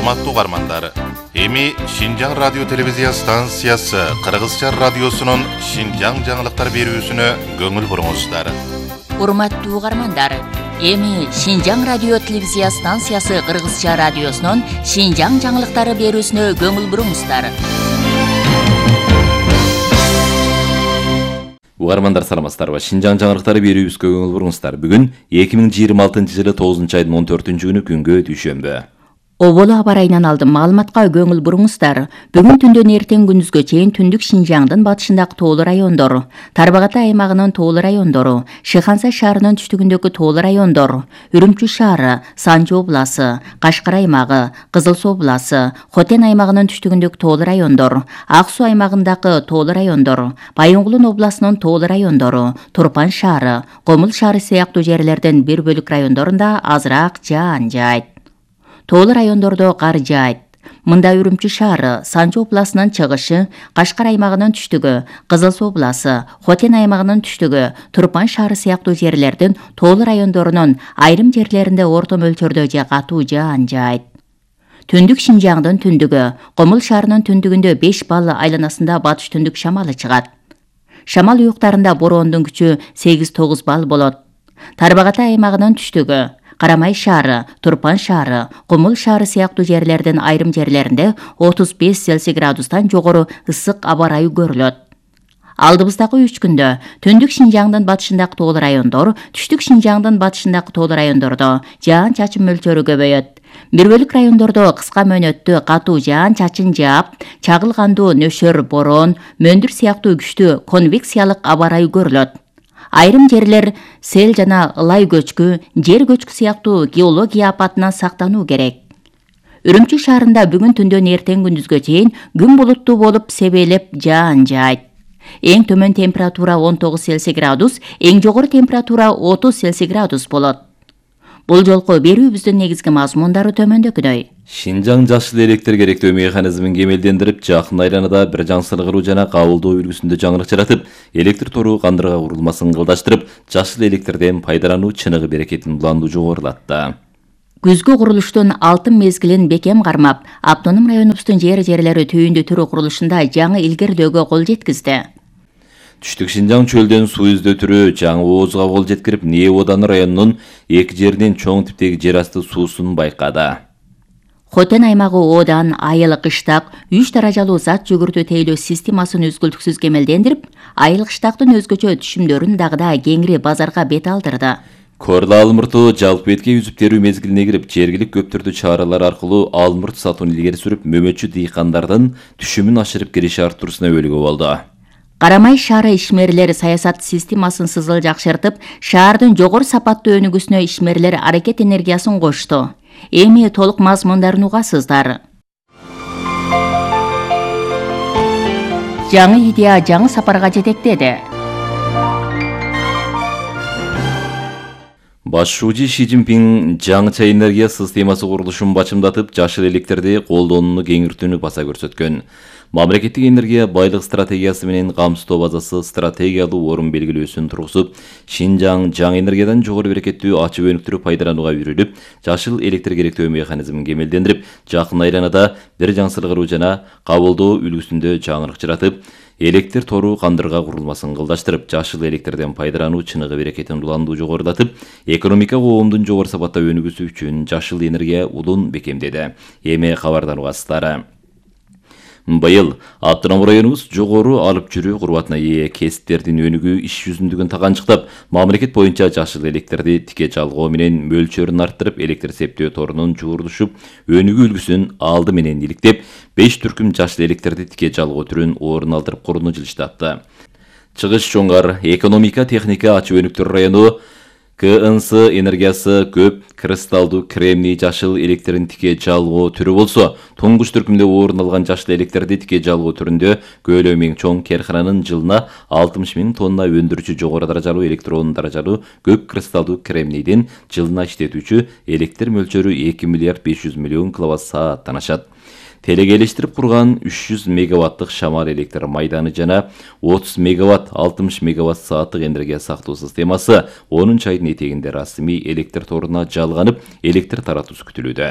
Урматтуу угармандар, эми Шинжаң радио телевизия станциясы Кыргызча радиосунун Шинжаң жаңылыктар берүүсүнө көңүл буруңуздар. Урматтуу угармандар, эми Шинжаң радио телевизия станциясы Кыргызча радиосунун Шинжаң жаңылыктары берүүсүнө көңүл буруңуздар. Угармандар саламатсыздарбы? Шинжаң жаңылыктары берүүбүзгө көңүл буруңуздар. Бүгүн 2026-жылы 9-айдын 14-күнү күнгө дүйшөмбү. Оболу аба райынан алдым маалыматка көңүл буруңуздар. Бүгүн түндөн эртең күндүзгө чейин түндүк Шинжаңдын батышындагы тоолуу райондор, Тарбагатай аймагынын тоолуу райондору, Шыхансай шаарынын түштүгүндөгү тоолуу райондор, Үрүмчү шаары, Санжы обласы, Кашкар аймагы, Кызыл Суу обласы, Хотен аймагынын түштүгүндөгү тоолуу райондор, Ак Суу аймагындагы тоолуу райондор, Байоңгулун областынын тоолуу райондору, Турпан шаары, Комул шаары сыяктуу жерлердин бир бөлүк райондорунда азыраак жаан жаайт. Тоолуу райондордо кар жаайт. Мында Үрүмчү шаары, Санжы областынын чыгышы, Кашкар аймагынын түштүгү, Кызыл Суу обласы, Хотен аймагынын түштүгү, Турпан шаары сыяктуу жерлердин тоолуу райондорунун айрым жерлеринде орто мөлчөрдө же катуу жаан жаайт. Түндүк Шинжаңдын түндүгү, Комул шаарынын түндүгүндө 5 балл айланасында батыш түндүк шамалы чыгат. Шамал уюктарында бороондун күчү 8-9 балл болот. Тарбагатай аймагынын түштүгү, Карамай шаары, Турпан шаары, Комул шаары сыяктуу жерлердин айрым жерлеринде 35 Цельсий градустан жогору ысык аба ырайы көрүлөт. Алдыбыздагы 3 күндө түндүк Шинжаңдын батышындагы тоолуу райондор, түштүк Шинжаңдын батышындагы тоолуу райондордо жаан-чачын мөлчөрү көбөйөт. Бир бөлүк райондордо кыска мөөнөттүү катуу жаан-чачын жаап, чагылгандуу нөшөр бороон, мөндүр сыяктуу күчтүү конвекциялык аба ырайы көрүлөт. Айрым жерлер сел жана ылай көчкү, жер көчкү сыяктуу геология апатынан сактануу керек. Үрүмчү шаарында бүгүн түндөн эртең күндүзгө чейин күн булуттуу болуп себелеп жаан жаайт. Эң төмөн температура 19 Цельсий градус, эң жогору температура 30 Цельсий градус болот. Бул жолку берүүбүздүн негизги мазмундары төмөндөгүдөй. Шинжаң жашыл электр керектөө механизмин кемелдендирип, жакын айланада бир жаңсыргыруу жана кабылдоо үлгүсүндө жаңылык жаратып, электр тору кандырга курулмасын ылдаштырып, жашыл электрден пайдалануу чыныгы берекетин уланду жогорулатты. Күзгү курулуштун алтын мезгилин бекем кармап, автоном районубуздун жери түйүндү түрү курулушунда жаңы илгерилөөгө кол жеткизди. Түштүк Шинжаң чөлдөн суу издөө түрү жаңы оозго кол жеткирип, Нее-Одан районунун эки жеринин чоң типтеги жер асты суусун байкады. Хотен аймагы Одан, Айыл кыштак 3 даражалуу зат жүгүртүү тейлөө системасын үзгүлтүксүз кемелдендирип, Айыл кыштактын өзгөчө түшүмдөрүн дагы да кеңири базарга бет алдырды. Корла алмурту жалпы бетке үзүп терүү мезгилине кирип, жергилик көптөрдү чаралар аркылуу алмурт сатууну илгери сүрүп, мөмөчү дыйкандардын түшүмүн ашырып келиши арттыруусуна өбөлгө болду. Карамай шаары ишмерлер саясат системасын сызыл жакшыртып, шаардын жогору сапаттуу өнүгүүсүнө ишмерлер аракет энергиясын кошту. Эми толук мазмундарын угасыздар. Жаңы идея жаңы сапарга жетектеди. Башчы Ши Цзиньпин жаңыча энергия системасы курулушун бачымдатып, жашыл электрди колдонууну кеңиртүүнү баса көрсөткөн. Мамлекеттик энергия байлык стратегиясы менен камсыздоо базасы стратегиялуу орун белгилөөсүн тургузуп, Шинжаң жаңы энергиядан жогору берекеттүү ачык өнүктүрүп пайдаланууга үйрүлүп, жашыл электр керектөө механизмин кемелдендирип, жакын айланада бир жаңсыргыруу жана кабылдоо үлгүсүндө жаңылык жаратып, электр тору кандырга курулмасын кылдаштырып, жашыл электрден пайдалануу чыныгы берекетин уланду жогорулатып, экономика коомдун жогору сапатта өнүгүүсү үчүн жашыл энергия улун бекемдеди. Эми кабардан угасыздар. Быйыл автоном районубуз жогору алып жүрүү курбатына ээ кесиптердин өнүгүү иш жүзүндүгүн таганчыктап, мамлекет боюнча жашыл электрди тике жалгоо менен мөлчөрүн арттырып, электр септөө торунун жуурулушуп, өнүгүү үлгүсүн алды менен иликтеп, 5 түркүм жашыл электрди тике жалгоо түрүн орун алдырып курууну жылыштатты. Чыгыш Жоңгар экономика техника ачык өнүктүрүү району КНС энергиясы көп кристалдуу кремний жашыл электрин тике жалгоо түрү болсо, туңгуч түркүмдө орун алган жашыл электрди тике жалгоо түрүндө көлөмү эң чоң керкананын жылына 60 000 тонна өндүрүүчү жогору даражалуу электрон даражалуу көп кристалдуу кремнийдин жылына иштетүүчү электр мөлчөрү 2 миллиард 500 миллион киловатт-сааттан ашат. Телегелештирип курган 300 мегаваттык шамал электр майданы жана 30 мегаватт 60 мегаватт сааттык энергия сактоо системасы 10 айдын этегинде расмий электр торуна жалганып, электр таратуусу күтүлүүдө.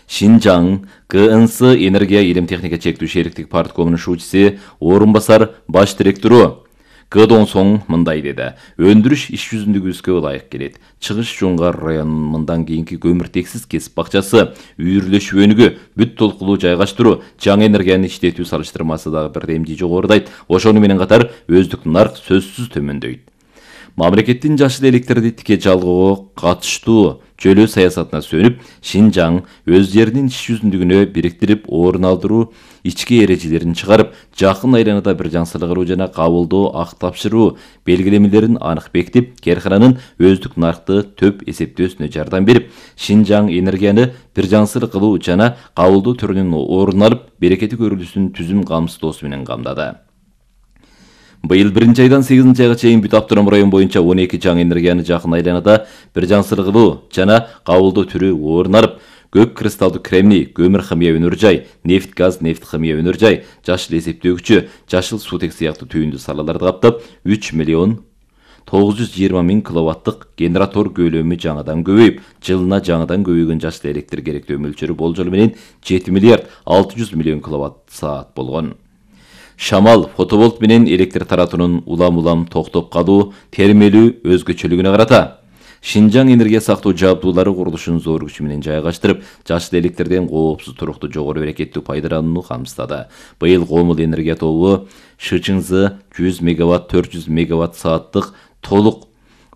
Шинжаң КНС энергия илим техника чектүү шериктик парткомунун шуучуси орун басар баш директору Кыдон соң мындай деди. Өндүрүш иш жүзүндөгүбүзгө ылайык келет. Чыгыш Жоңгар районунун мындан кийинки көмүртексиз кесип бакчасы, үйүрлөшүү өнүгүү, бүт толкулуу жайгаштыруу, жаңы энергияны иштетүү салыштырмасы дагы бирдемди жогорудайт. Ошону менен катар өздүк нарк сөзсүз төмөндөйт. Мамлекеттин жашыл электерди тике жалгоого катыштуу чөлөө саясатына сөнүп, Шинжаң өз жеринин иш жүзүндүгүнө бириктирип, орун алдыруу ички эрежелерин чыгарып, жакын айланада бир жаңсыргыруу жана кабылдоо ак тапшыруу белгилемелерин анык бекитип, каркананын өздүк наркты төп эсептөөсүнө жардам берип, Шинжаң энергияны бир жаңсыр кылуу жана кабылдоо түрүнүн орун алып, берекети көрүлүүсүн түзүм камсыздоосу менен камдады. Быйыл 1-айдан 8-айга чейин бүт автоном район боюнча 12 жаңы энергияны жакын айланада бир жаңсыр кылуу жана кабылдоо түрү орун алып, көк кристалдуу кремний, көмүр химия өнөр жай, нефть газ, нефть химия өнөр жай, жашыл эсептөөчү, жашыл суутек сыяктуу түйүндүү салаларды каптап, 3 миллион 920 миң киловаттык генератор көлөмү жаңыдан көбөйүп, жылына жаңыдан көбөйгөн жашыл электр керектөө мөлчөрү болжолу менен 7 миллиард 600 миллион киловатт саат болгон. Шамал, фотоволт менен электр таратуунун улам-улам токтоп калуу термелүү өзгөчөлүгүнө карата Шинжаң энергия сактоо жабдуулары курулушун зор күч менен жайгаштырып, жашыл электрден коопсуз туруктуу жогору берекеттүү пайдаланууну камсыздады. Быйыл Комул энергия тобу Шычыңзы 100 мегаватт 400 мегаватт сааттык толук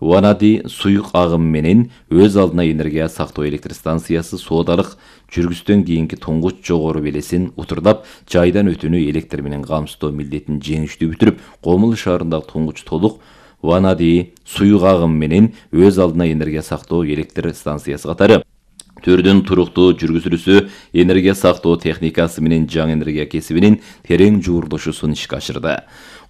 Ванади суюк агым менен өз алдына энергия сактоо электр станциясы соодалык жүргүздөн кийинки туңгуч жогору белесин утурлап, жайдан өтүүнү электр менен камсыздоо милдетин жеңиштүү бүтүрүп, Комул шаарындагы туңгуч толук Ванади суюк агым менен өз алдына энергия сактоо электр станциясы катары түрдүн туруктуу жүргүзүлүүсү энергия сактоо техникасы менен жаңы энергия кесибинин терең жуурдушуусун ишке ашырды.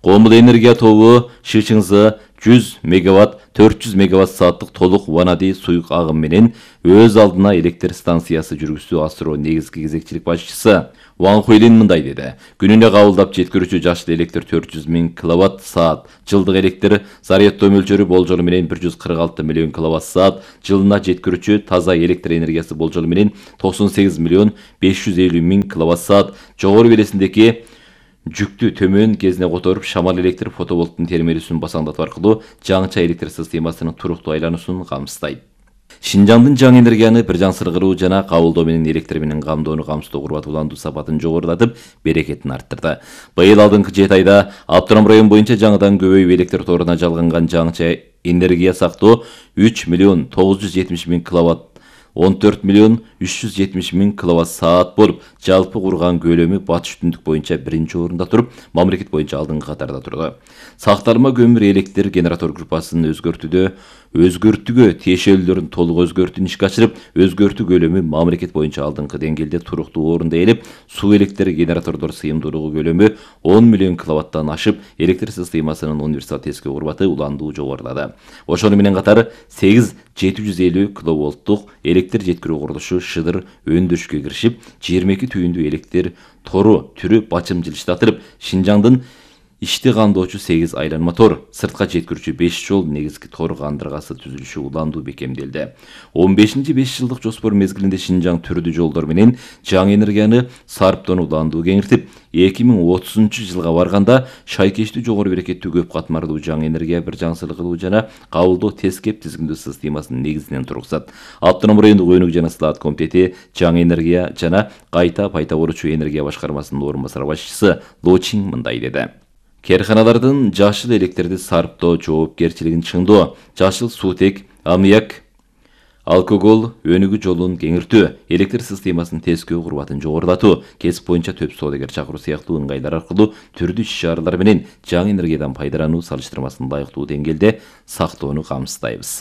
Комул энергия тобу Шычыңзы 100 мегаватт 400 мегаватт сааттык толук Ванади суюк агым менен өз алдына электр станциясы жүргүзүү асыруу негизги кезекчилик башчысы Ван Хуйлин мындай деди. Күнүнө кабылдап жеткирүүчү жашыл электр 400 миң киловатт саат, жылдык электр зарядтоо мөлчөрү болжолу менен 146 миллион киловатт саат, жылына жеткирүүчү таза электр энергиясы болжолу менен 98 миллион 550 миң киловатт саат, жогору белесиндеки жүктү төмөн кезине которуп, шамал электр фотоволттун термелүүсүн басаңдатуу аркылуу жаңыча электр системасынын туруктуу айлануусун камсыздайт. Шинжаңдын жаңы энергияны бир жаңсыргыруу жана кабылдоо менен электр менен камдоону камсыздоо курбатууландуу сапатын жогорулатып, берекетин арттырды. Быйыл алдыңкы 7 айда автоном район боюнча жаңыдан көбөйүп электр торуна жалганган жаңыча энергия сактоо 3 миллион 970 миң киловатт 14 миллион 370 миң киловатт саат болуп, жалпы курган көлөмү батыш түндүк боюнча 1-орунда туруп, мамлекет боюнча алдыңкы катарда турду. Сакталма көмүр электр генератор группасын өзгөртүүгө тиешелүүлөрүн толук өзгөртүүнү ишке ашырып, өзгөртүү көлөмү мамлекет боюнча алдыңкы деңгээлде туруктуу орунда ээлеп, суу электр генератордор сыйымдуулугу көлөмү 10 миллион киловаттан ашып, электр системасынын универсал тескөө курбаты уландуу жогорулады. Ошону менен катар 8 750 киловолттук электр жеткирүү курулушу Шыдыр өндүрүшкө киришип, 22 түйүндүү электр тору түрү бачым жылыштатырып, Шинжаңдын ишти камдоочу 8 айланма тор, сыртка жеткирүүчү 5 жол негизги тор кандыргасы түзүлүшү уландуу бекемделди. 15-5 жылдык жоспор мезгилинде Шинжаң түрдүү жолдор менен жаңы энергияны сарптоону уландуу кеңиртип, 2030-жылга барганда шайкештүү жогору берекеттүү көп катмарлуу жаңы энергия бир жаңсыр кылуу жана кабылдоо тез кеп тизгиндөө системасынын негизинен тургузат. Автоном райондук өнүк жана сылаат комитети жаңы энергия жана кайта пайда болуучу энергия башкармасынын орун басар башчысы Лочин мындай деди. Керканалардын жашыл электрди сарптоо жоопкерчилигин чыңдоо, жашыл суутек, аммиак, алкогол өнүгүү жолун кеңиртүү, электр системасынын тескөө курбатын жогорулатуу, кесип боюнча төп соодагер чакыруу сыяктуу ыңгайлар аркылуу түрдүү иш-чаралар менен жаңы энергиядан пайдалануу салыштырмасын лайыктуу деңгээлде сактоону камсыздайбыз.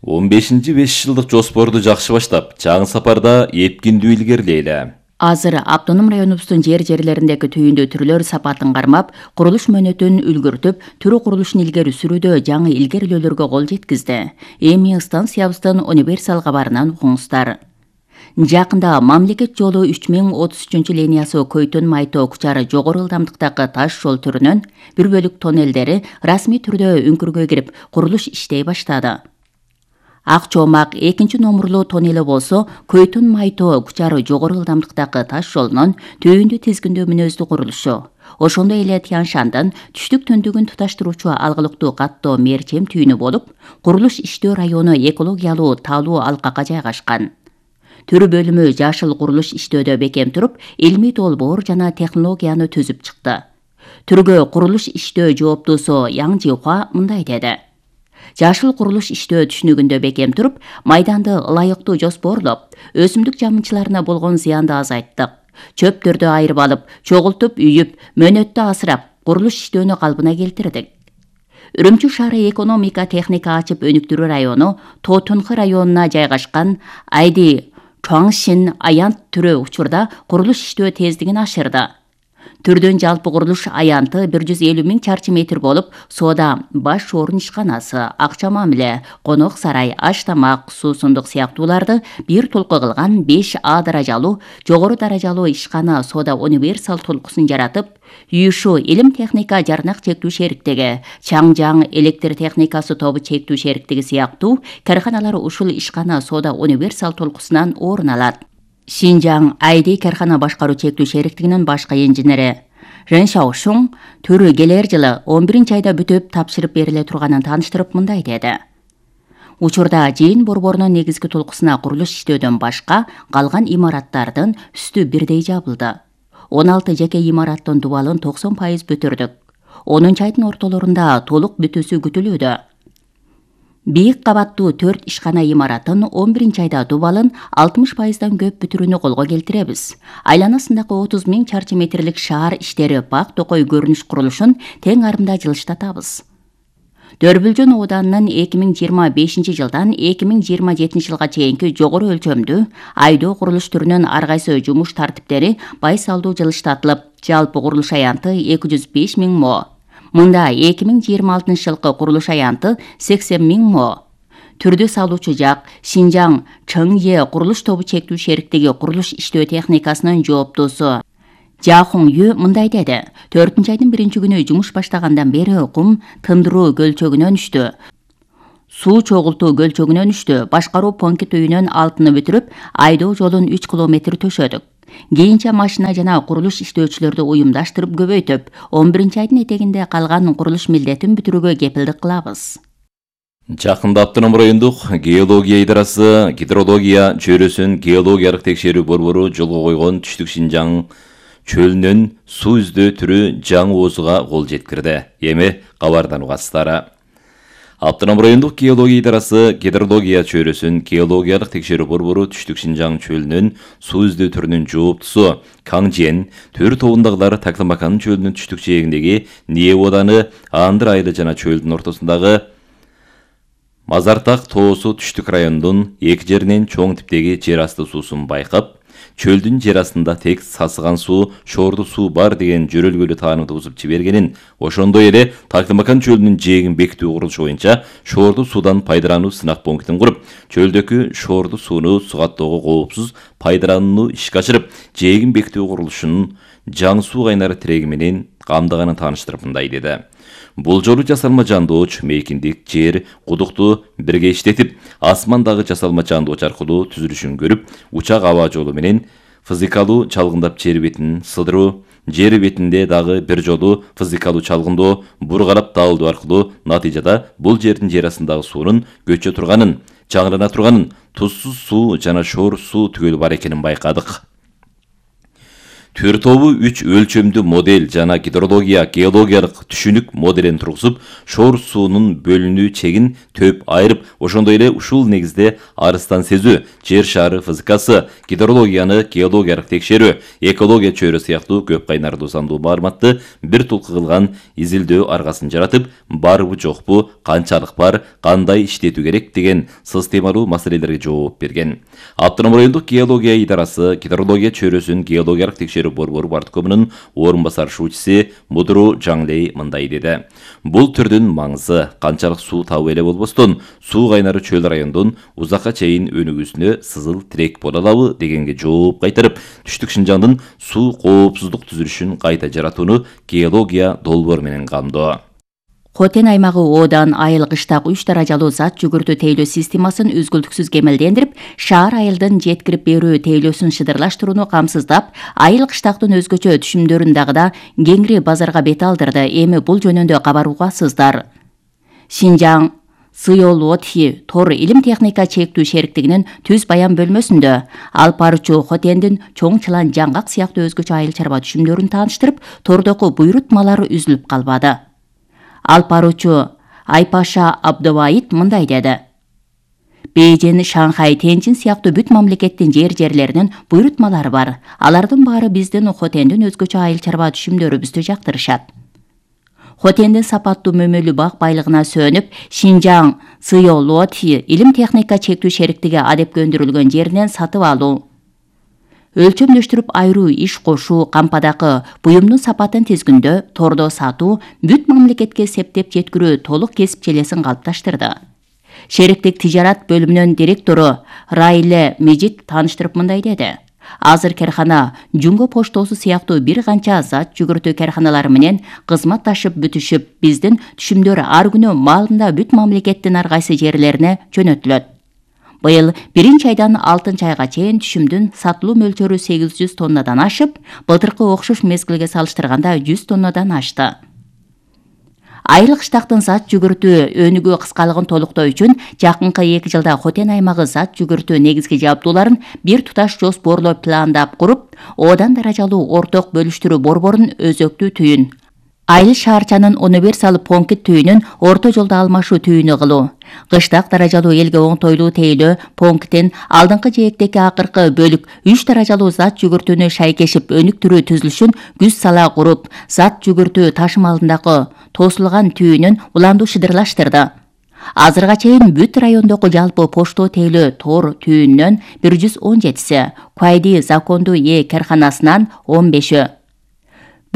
15-5 жылдык жоспорду жакшы баштап, жаңы сапарда эпкиндүү илгерилейли. Азыр автоном районубуздун жерлериндеги түйүндүү түрлөр сапатын кармап, курулуш мөөнөтүн үлгүртүп, түрүү курулушун илгери сүрүүдө жаңы илгерилөөлөргө кол жеткизди. Эми станциябыздын универсал кабарынан угуңуздар. Жакында мамлекет жолу 3033 Көйтөн Майтоо Кучары жогору ылдамдыктагы таш жол түрүнүн бир бөлүк тоннелдери расмий түрдө үңкүргө кирип, курулуш иштей баштады. Ак Чоомак 2 номурлуу тоннели болсо, Көйтүн Майтоо Кучары жогору ылдамдыктагы таш жолунун түйүндү тизгиндөө мүнөздүү курулушу. Ошондой эле Тяншандын түштүк төндүгүн туташтыруучу алгылыктуу каттоо мерчем түйүнү болуп, курулуш иштөө району экологиялуу таалуу алкакка жайгашкан. Түрү бөлүмү жашыл курулуш иштөөдө бекем туруп, илмий долбоор жана технологияны түзүп чыкты. Түргө курулуш иштөө жооптуусу Яң Жихуа мындай деди. Жашыл курулуш иштөө түшүнүгүндө бекем туруп, майданды ылайыктуу жоспорлоп, өсүмдүк жамынчыларына болгон зыянды азайттык. Чөптөрдү айырып алып, чогултуп, үйүп, мөөнөттө асырап, курулуш иштөөнү калпына келтирдик. Үрүмчү шаары экономика техника ачып өнүктүрүү району Тотунхы районуна жайгашкан Айди Чуаңшин аянт түрү учурда курулуш иштөө тездигин ашырды. Түрдүн жалпы курулуш аянты 150 000 чарчы метр болуп, соода, баш орун ишканасы, акча мамиле, конок сарай, аш тамак, суусундук сыяктууларды бир толку кылган 5 А даражалуу, жогору даражалуу ишкана соода универсал толкусун жаратып, Үйүшүү илим техника жарнак чектүү шериктиги, Чаңжаң электр техникасы тобу чектүү шериктиги сыяктуу карканалар ушул ишкана соода универсал толкусунан орун алат. Шинжаң Айди каркана башкаруу чектүү шериктигинин башкы инженери Рен Шаошун түрү келер жылы 11 айда бүтүп тапшырып бериле турганын тааныштырып мындай деди. Учурда жыйын борборунун негизги толкусуна курулуш иштөөдөн башка калган имараттардын үстү бирдей жабылды. 16 жеке имараттын дубалын 90% бүтүрдүк. 10 айдын ортолорунда толук бүтүүсү күтүлүүдө. Бийик кабаттуу 4 ишкана имаратын 11 айда дубалын 60%дан көп бүтүрүүнү колго келтиребиз. Айланасындагы 30 000 чарчы метрлик шаар иштери бак токой көрүнүш курулушун тең арымда жылыштатабыз. Дөрбүлжөн ооданынын 2025 жылдан 2027 жылга чейинки жогору өлчөмдүү айдоо курулуш түрүнүн ар кайсы жумуш тартиптери байсалдуу жылыштатылып, жалпы курулуш аянты 205 000 мо. Мында 2026 жылкы курулуш аянты 80 000 мо. Түрдү салуучу жак Шинжаң Чыңе курулуш тобу чектүү шериктиги курулуш иштөө техникасынын жооптуусу Жахун Ю мындай деди. 4 айдын 1 күнү жумуш баштагандан бери кум тындыруу гөлчөгүнөн үштү. Суу чогултуу гөлчөгүнөн үштү. Башкаруу пункт үйүнүн алтыны бүтүрүп, айдоо жолун 3 километр төшөдүк. Кийинче машина жана курулуш иштөөчүлөрдү уюмдаштырып көбөйтүп, 11 айдын этегинде калган курулуш милдетин бүтүрүүгө кепилдик кылабыз. Жакында Автоном райондук геология идарасы гидрология чөйрөсүн геологиялык текшерүү борбору жолго койгон түштүк Шинжаң чөлүнөн суу издөө түрү жаңы оозуга кол жеткирди. Эми кабардан угасыздар. Автоном райондук геология идарасы гидрология чөйрөсүн геологиялык текшерүү борбору түштүк Шинжаң чөлүнөн суу издөө түрүнүн жооптусу Каңжен төр тобундагылар Таклымакан чөлүнүн түштүк жээгиндеги Ние ооданы Андыр айылы жана чөлдүн ортосундагы Мазартак тоосу түштүк райондун эки жеринен чоң типтеги жер асты суусун байкап, чөлдүн жер астында тек сасыган суу, шорду суу бар деген жөрөлгөлүү таанымды бузуп жибергенин, ошондой эле Таклымакан чөлүнүн жээгин бекитүү курулушу боюнча шорду суудан пайдалануу сынак пунктун куруп, чөлдөгү шорду сууну сугаттоого коопсуз пайдаланууну ишке ашырып, жээгин бекитүү курулушунун жаңы суу кайнары тиреги менен камдаганын тааныштырып мындай деди. Бул жолу жасалма жандооч, мейкиндик, жер, кудукту бирге иштетип, асмандагы жасалма жандооч аркылуу түзүлүшүн көрүп, учак аба жолу менен физикалуу чалгындап жер бетин сыдыруу, жер бетинде дагы бир жолу физикалуу чалгындоо, бургалап даалдоо аркылуу натыйжада бул жердин жер астындагы суунун көчө турганын, жаңылана турганын, тузсуз суу жана шор суу түгөл бар экенин байкадык. Төр тобу 3 өлчөмдүү модель жана гидрология геологиялык түшүнүк моделин тургузуп, шор суунун бөлүнүү чегин төп айырып, ошондой эле ушул негизде арыстан сезүү, жер шары физикасы, гидрологияны геологиялык текшерүү, экология чөйрө сыяктуу көп кайнарлуу сандуу маалыматты бир толку кылган изилдөө аргасын жаратып, барбы жокпу, канчалык бар, кандай иштетүү керек деген системалуу маселелерге жооп берген. Автоном райондук геология идарасы гидрология чөйрөсүн геологиялык текшерүү борбору парткомунун орун басар шуучусу Мудру Жаңлей мындай деди. Бул түрдүн маңызы канчалык суу табуу эле болбостон, суу кайнары чөл райондун узакка чейин өнүгүүсүнө сызыл тирек боло алабы дегенге жооп кайтарып, түштүк Шинжаңдын суу коопсуздук түзүлүшүн кайта жаратууну геология долбоор менен камдоо. Хотен аймагы Одан айыл кыштак 3 даражалуу зат жүгүртүү тейлөө системасын үзгүлтүксүз кемелдендирип, шаар айылдын жеткирип берүү тейлөөсүн шыдырлаштырууну камсыздап, айыл кыштактын өзгөчө түшүмдөрүн дагы да кеңири базарга бет алдырды. Эми бул жөнүндө кабар угасыздар. Шинжаң Сыйолотхи Тор илим техника чектүү шериктигинин түз баян бөлмөсүндө алып баруучу Хотендин чоң чылан жаңгак сыяктуу өзгөчө айыл чарба түшүмдөрүн тааныштырып, тордоку буйрутмалары үзүлүп калбады. Алып баруучу Айпаша Абдыбайыт мындай деди. Бейжин, Шанхай, Тенчин сыяктуу бүт мамлекеттин жерлеринин буйрутмалары бар. Алардын баары биздин Хотендин өзгөчө айыл чарба түшүмдөрүбүздү жактырышат. Хотендин сапаттуу мөмөлүү бак байлыгына сөнүп, Шинжаң Сыйолотхи илим техника чектүү шериктиги адепке өндүрүлгөн жеринен сатып алуу, өлчөмдөштүрүп айыруу иш кошуу, кампадагы буюмдун сапатын тизгиндөө, тордо сатуу, бүт мамлекетке септеп жеткирүү толук кесип челесин калыпташтырды. Шериктик тижарат бөлүмүнүн директору Райле Мejit тааныштырып мындай деди. Азыр кархана Жунго поштосу сыяктуу бир канча зат жүгүртүү карханалары менен кызматташып бүтүшүп, биздин түшүмдөр ар күнү маалында бүт мамлекеттин ар кайсы жерлерине жөнөтүлөт. Быйыл 1-айдан 6-айга чейин түшүмдүн сатылуу мөлчөрү 800 тоннадан ашып, былтыркы окшош мезгилге салыштырганда 100 тоннадан ашты. Айыл кыштактын зат жүгүртүү өнүгүү кыскалыгын толуктоо үчүн жакынкы 2 жылда Хотен аймагы зат жүгүртүү негизги жабдууларын бир туташ жоспорлоп пландап куруп, Одан даражалуу орток бөлүштүрүү борборун өзөктүү түйүн, айыл шаарчанын универсал понкит түйүнүн орто жолдо алмашуу түйүнү кылуу, кыштак даражалуу элге оңтойлуу тейлөө понктин алдыңкы жээктеги акыркы бөлүк 3 даражалуу зат жүгүртүүнү шайкешип өнүктүрүү түзүлүшүн күз сала куруп, зат жүгүртүү ташымалындагы тосулган түйүнүн уланду шыдырлаштырды. Азырга чейин бүт райондогу жалпы пошто тейлөө тор түйүнүнөн 117-си, Куайди закондуу карханасынан 15-ü,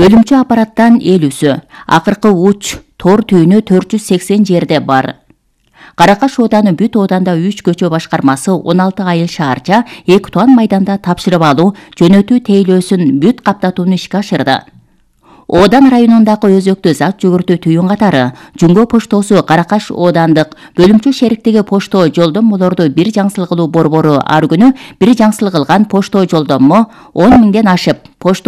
бөлүмчө аппараттан 50-сü, акыркы уч тор түйүнү 480 жерде бар. Каракаш Ооданы бүт Ооданда 3 көчө башкармасы 16 айыл шаарча 2 тонн майданда тапшырып алуу, жөнөтүү тейлөөсүн бүт каптатууну ишке ашырды. Одан районундагы өзөктүү зат жүгүртүү түйүн катары Жунго поштосу Каракаш Оодандык бөлүмчө шериктиги пошто жолдомолорду бир жаңсыл кылуу борбору ар күнү бир жаңсыл кылган пошто жолдомо 10 миңден ашып, пошто